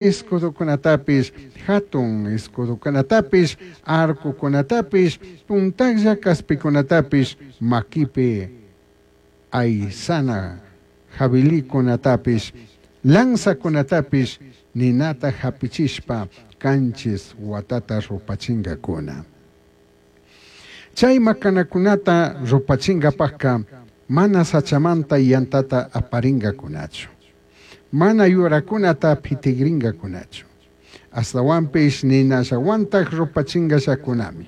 Escudocunatapish, jatun escudocunatapish, arcocunatapish, puntajlla caspicunatapish, maquipi aisana jabilicunatapish, lanzacunatapish ninata japichishpa canchis huatata rupachingacuna. Chai macanacunata rupachingapajca mana sachamanta yantata aparingacunachu. Mana yuracunata pitigringacunachu. Ashtahuanpish ninallahuantaj rupachingallacunami.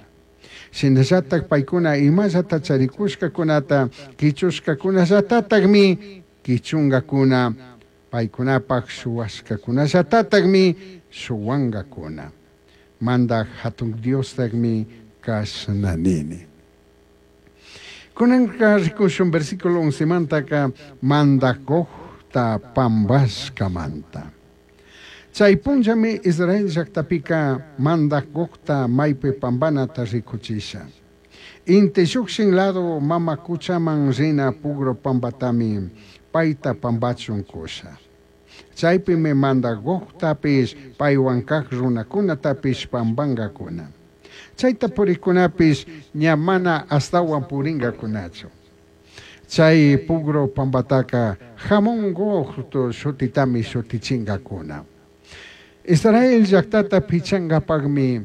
Shinallataj paicuna imallata charicushcacunata quichushcacunallatatajmi quichungacuna, paicunapaj shuhuashcacunallatatajmi shuhuangacuna. Mandaj Jatun Diostajmi cashna nini. Cunanca ricushun versículo 11mantaca Mandaj Gogta pambashcamanta. Chai punllami Israel llajtapica Mandaj Gogta maipi pambanata ricuchisha. Inti llujshin lado mama cuchaman rina pugru pambatami paita pambachun cusha. Chaipimi Mandaj Gogtapish paihuan caj runacunatapish pambangacuna. Chaita puricunapish ña mana ashtahuan puringacunachu. Chai pugru pambataca Hamón Gog shutitami shutichingacuna. Israel llajtata pichangapajmi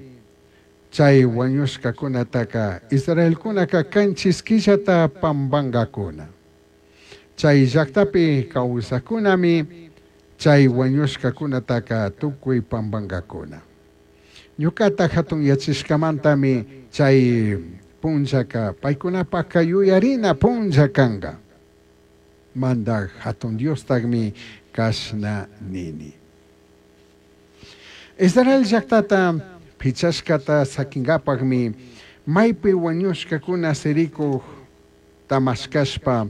chai huañushcacunataca israelcunaca canchis quillata pambangacuna. Chai llajtapi causajcunami chai huañushcacunataca tucui pambangacuna. Ñucata jatunyachishcamantami chai punllaca paicunapajca yuyarina punlla canga. Mandaj Jatun Diostajmi cashna nini. Israel llajtata pichashcata saquingapajmi maipi huañushcacuna siricuj tamashcashpa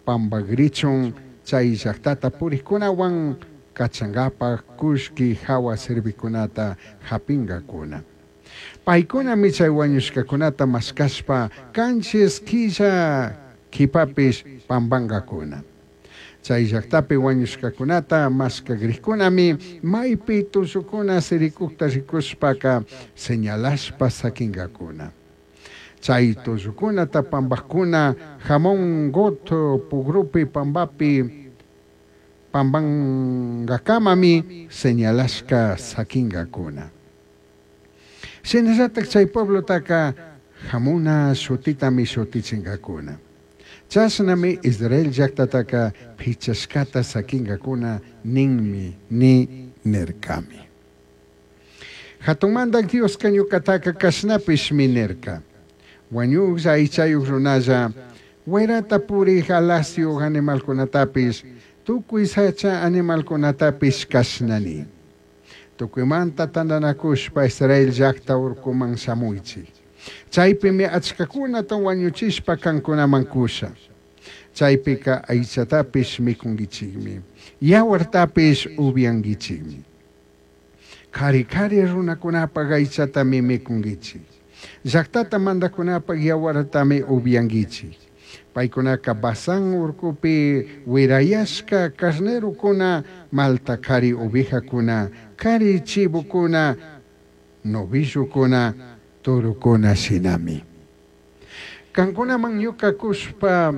pambagrichun chai llajtata purijcunahuan cachangapaj cullqui jahua servicunata japingacuna. Paicunami chai huañushcacunata mashcashpa canchis quilla quipapish pambangacuna. Chai llajtapi huañushcacunata mashcagrijcunami maipi tullucuna siricujta ricushpaca señalashpa saquingacuna. Chai tullucunata pambajcuna Hamón Gog pugrupi pambapi pambangacamami señalashca saquingacuna. Shinallataj chai pueblotaca Hamona shutitami shutichingacuna. Chashnami Israel llajtataca pichashcata saquingacuna ninmi ni nircami. Jatun Mandaj Diosca ñucataca cashnapishmi nirca. Huañujlla aichayuj runalla, huairata purij alasyuj animalcunatapish, tucui sacha animalcunatapish cashna ni. Tucuimanta tandanacushpa Israel llajta urcuman shamuichij. Chaipimi achcacunata huañuchishpa cancunaman cusha. Chaipica aichatapish micunguichijmi, yahuartapish ubyanguichijmi. Cari cari runacunapaj aichatami micunguichij. Llajtata mandajcunapaj yahuartami ubyanguichij. Paicunaca Basán urcupi huirayashca carnerocuna, malta cari ovejacuna, cari chivocuna, novillocuna, torocuna shinami. Cancunaman ñuca cushpa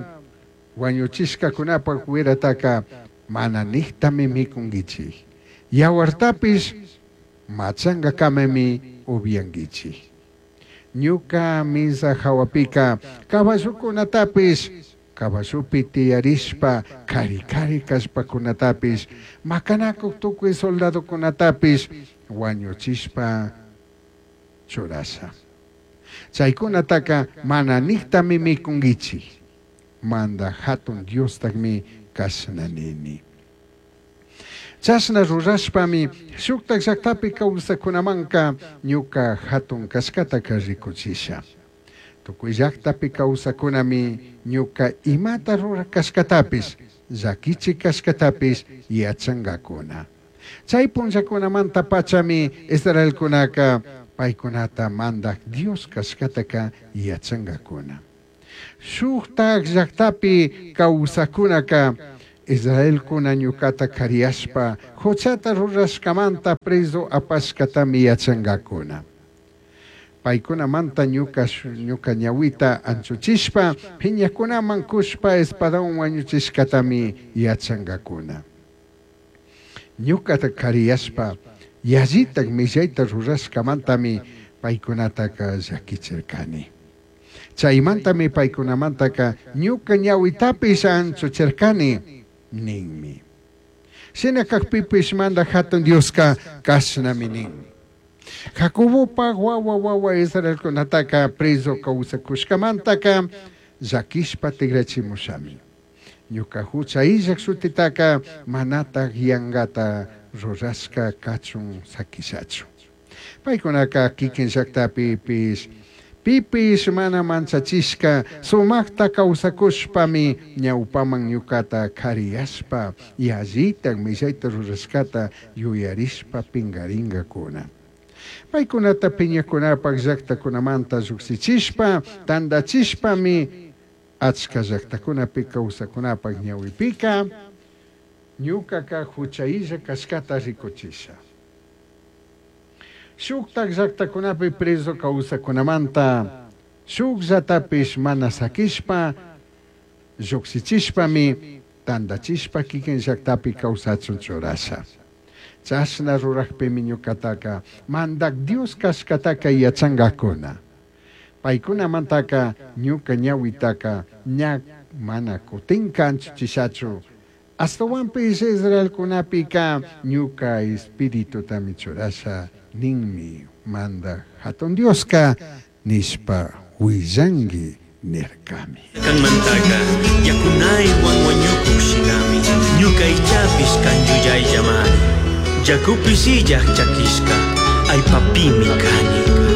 huañuchishcacunapaj huirataca mana nijtami micunguichij. Yahuartapish machangacamami ubyanguichij. Ñuca misa jahuapica caballocunatapish, caballopi tiyarishpa cari cari callpacunatapish, macanacuj tucui soldadocunatapish huañuchishpa churasha. Chaicunataca mana nijtami micunguichij. Mandaj Jatun Diostajmi cashna nini. Chashna rurashpami shujtaj llajtapi causacunamanca ñuca jatun cashcataca ricuchisha. Tucui llajtapi causacunami ñuca imata ruraj cashcatapish, llaquichi cashcatapish yachangacuna. Chai punllacunamanta pachami israelcunaca paicunata Mandaj Dios cashcataca yachangacuna. Shujtaj llajtapi causacunaca Israelcuna ñucata cariyashpa juchata rurashcamanta prezu apashcatami yachangacuna. Paicunamanta ñuca ñuca ñahuita anchuchishpa piñacunaman cushpa espadahuan huañuchishcatami yachangacuna. Ñucata cariyashpa yallitaj millaita rurashcamantami paicunataca llaquichircani. Chaimantami paicunamantaca ñuca ñahuitapish anchuchircani ninmi. Shina cajpipish Mandaj Jatun Diosca cashnami nin. Jacobopaj wawa wawa Israelcunataca prezu causacushcamantaca llaquishpa tigrachimushami. Ñuca jucha illaj shutitaca manataj yangata rurashca cachun saquishachu. Paicunaca kikin llactapipish pipish mana manchachishca sumajta causacushpami ñaupaman ñucata cariyashpa yallitaj millaita rurashcata yuyarishpa pingaringacuna. Paicunata piñacunapaj llactacunamanta llujshichishpa tandachishpami achca llactacunapi causacunapaj ñahuipica ñucaca jucha illa cashcata ricuchisha. Shujtaj llactacunapi prezu causacunamanta shujllatapish mana saquishpa llujshichishpami tandachishpa kikin llactapi causachun churasha. Chashna rurajpimi ñucataca Mandaj Dios cashcataca yachangacuna. Paicunamantaca ñuca ñahuitaca ña mana cutinca anchuchishachu. Ashtahuanpish Israelcunapica ñuca espiritutami churasha ninmi Mandaj Jatun Diosca nishpa huillangui nircami. Canmantaca yacunaihuan huañucuj shinami ñuca aichapish can yuyaillamari. Yacupish illaj chaquishca allpapimi cani.